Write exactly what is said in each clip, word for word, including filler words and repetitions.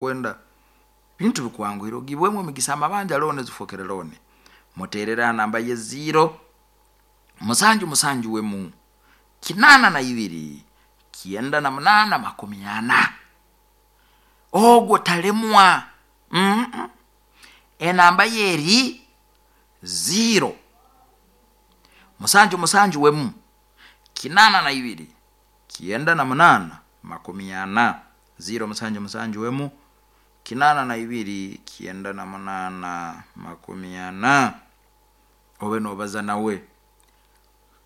Kwenda bintu bikwanguhire, ogibwemu emigisa, amabanja looni zifokere looni. Muterere ha namba ye ziro musanju musanju wemu kinaana na ibiri kyenda na munaana makumi ana. Ogwo talemwa. mm -mm. Enamba ye eri ziro musanju musanju wemu kinaana na ibiri kyenda na munaana makumi ana, ziro musanju musanju wemu kinaana na ibiri kyenda na munaana makumi ana. Obe nobaza nawe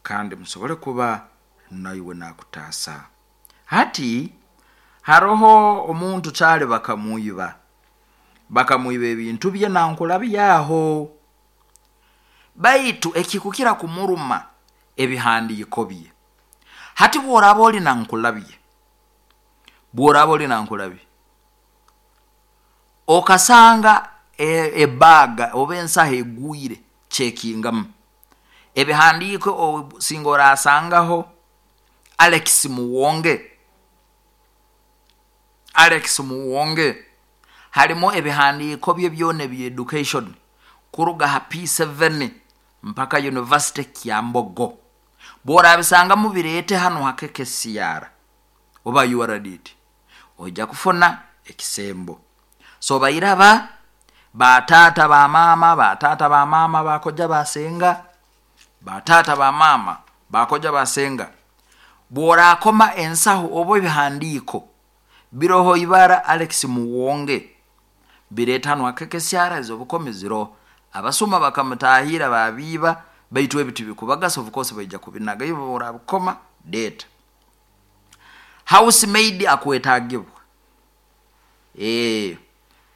kandi musobole kuba naiwe nakutaasa. Hati haroho omuntu kyali bakamwiba bakamwiba ebintu bye nankulabyaho, baitu ekikukira kumuruma ebihandiiko bye. Hati bworaba oli nankulabye, bworaba oli nankulabye okasanga ebaga oba ensaho egwire, cekingamu ebihandiiko, singa orasangaho Alex Muwonge. Alex Muwonge harimu ebihandiiko bye byona ebya education kuruga ha P seven mpaka University Kyambogo. Bworabisangamu bireete hanu ha K K C R oba U R D T, oija kufuna ekisembo. So bairaba bataata, bamaama, bataata, bamaama, bakoja, basenga, bataata, bamaama, bakoja, basenga, bworakoma ensaho oba ebihandiiko biroho ibara Alex Muwonge, bireeta hanu ha K K C R. Ezobukomi ziroho. Abasuma bakamutahira babiiba, baitu ebi tibikubagasa, of course baija kubinaga. Iwe orabikoma, leeta. House maid akwetagibwa. eh